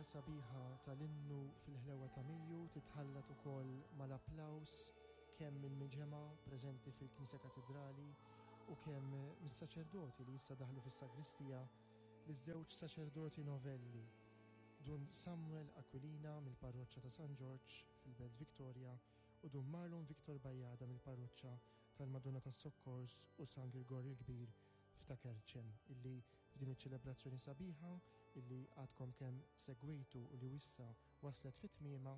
Il-melodija sabiħa tal-innu fil-ħlewa ta' Mejju titħallat ukoll mal-applaws kemm mill-miġemgħa preżenti fil-Knisja Katidrali u kemm mis-saċerdoti li issa daħlu fis-sagristija liż-żewġ saċerdoti novelli, Dun Samuel Aquilina mill-Parroċċa ta' San Ġorġ fil-Belt Victoria u Dun Marlon Victor Bajada mill-Parroċċa tal-Madonna tas-Sokkors u San Girgor il-Kbir f'Ta' Kerċem illi f'din iċ-ċelebrazzjoni sabiħa illi għadkom kemm segwejtu u li issa waslet fi tmiemha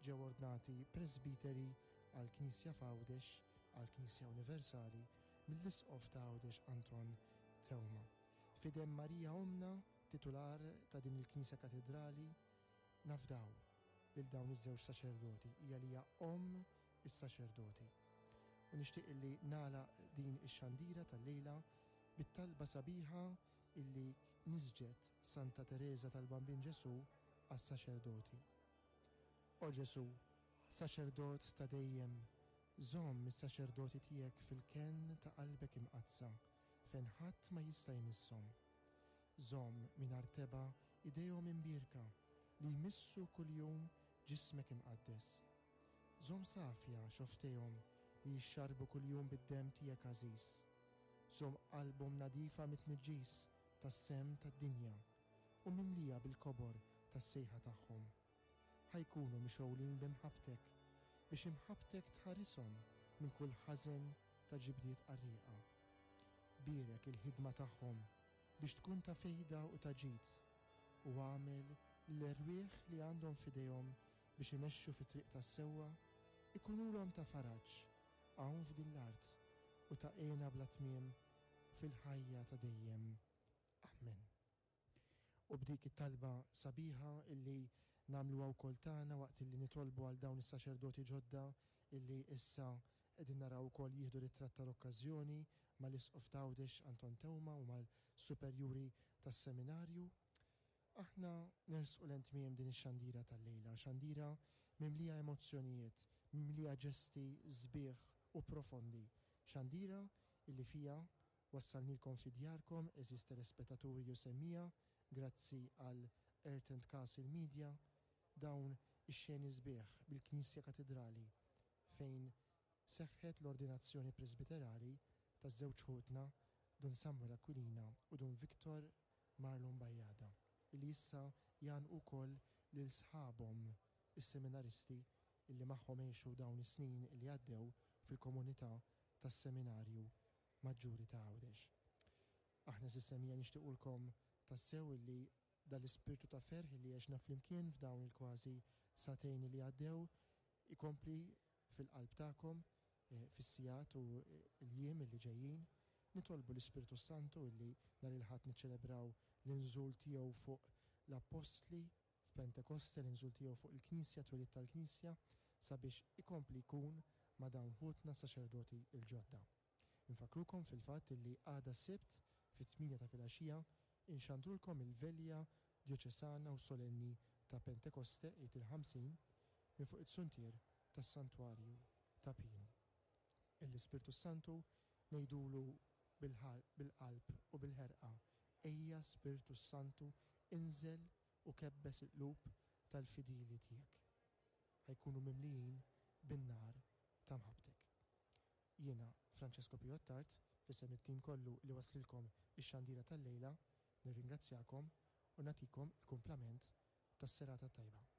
ġew ordnati presbiteri għall-Knisja f'Għawdex, għall-Knisja Universali, mill-Isqof ta' Għawdex Anton Teuma. F'idem Marija Ommna, titular ta' din il-Knisja Katidrali, nafdaw lil dawn iż-żewġ saċerdoti, hija li hija Omm is-saċerdoti. U nixtieq illi nagħlaq din ix-xandira tal-lejla bit-talba sabiħa illi nisġet Santa Tereża tal-Bambin Ġesù għas-saċerdoti. O Ġesù, saċerdot ta' dejjem, żomm is-saċerdoti tiegħek fil-kenn ta' qalbek imqaddsa, fejn ħadd ma jista' jmisshom. Żomm mingħajr tebgħa idejhom imbierka li jmissu kuljum ġismek imqaddes. Żomm safja xofftejhom li jixxarrbu kuljum bid-demm tiegħek għażiż. Żomm qalbhom nadifa mit-tniġġis tas-semm tad-dinja u mimlija bil-kobor tas-sejħa tagħhom. Ħa jkunu mixgħulin bi mħabbtek, biex imħabbtek tħarishom minn kull ħażen ta' ġibdiet qarrieqa. Bierek il-ħidma tagħhom biex tkun ta' fejda u ta' ġid, u agħmel li l-erwieħ li għandhom f'idejhom biex imexxu fit-triq tas-sewwa, ikunulhom ta' faraġ hawn f'din l-art u ta' hena bla tmiem fil-ħajja ta' dejjem. Ammen. U b'dik it-talba sabiħa illi nagħmluha wkoll tagħna waqt illi nitolbu għal dawn is-saċerdoti ġodda illi issa qegħdin naraw ukoll jieħdu ritratt tal-okkażjoni mal-Isqof t'Għawdex Anton Teuma u mal-superjuri tas-seminarju, Aħna nersqu lejn tmiem din ix-xandira tal-lejla, xandira mimlija emozzjonijiet, mimlija ġesti sbieħ u profondi, xandira illi fiha wassalnilkom fi djarkom, għeżież telespettaturi u semmiegħa, grazzi għal Earth and Castle Media, dawn ix-xeni sbieħ bil-Knisja Katidrali fejn seħħet l-ordinazzjoni presbiterali taż-żewġ ħutna Dun Samuel Aquilina u Dun Victor Marlon Bajada, illi issa jgħannqu wkoll lil sħabhom is-seminaristi illi magħhom għexu dawn is-snin illi għaddew fil-komunità tas-Seminarju Maġġuri ta' Għawdex. Aħna s'issa-mija nixtiequlkom tassew illi dan l-ispirtu ta' ferħ illi għexna flimkien f'dawn il-kważi sagħtejn illi għaddew ikompli fil-qalb tagħkom fis-sigħat u l-jiem illi ġejjin. Nitolbu l-Ispirtu s-Santu illi nhar il-Ħadd niċċelebraw l-inżul tiegħu fuq l-Appostli f'Pentekoste, l-inżul tiegħu fuq il-Knisja, twelid tal-Knisja, sabiex ikompli jkun ma' dawn ħutna s-saċerdoti l-ġodda. Infakkrukom fil-fatt illi għada s-Sibt fit-tmienja ta' filgħaxija inxandrulkom il-Velja Djoċesana u Solenni ta' Pentekoste, Għid il-Ħamsin, minn fuq it-suntier tas-Santwarju ta' Pinu. L-Ispirtu s-Santu ngħidulu bil-qalb u bil-ħerqa, Ejja Spirtu s-Santu inżel u kebbes il-qlub tal-fidili tiegħek. Ħa jkunu mimlijin bin-nar ta' mħabbtek. Jiena, Francesco Pio Attard, f'isem it-tim kollu li wasslilkom ix-xandira tal-lejla, nirringrazzjakom u nagħtikom il-kumplament tas-serata t-tajba.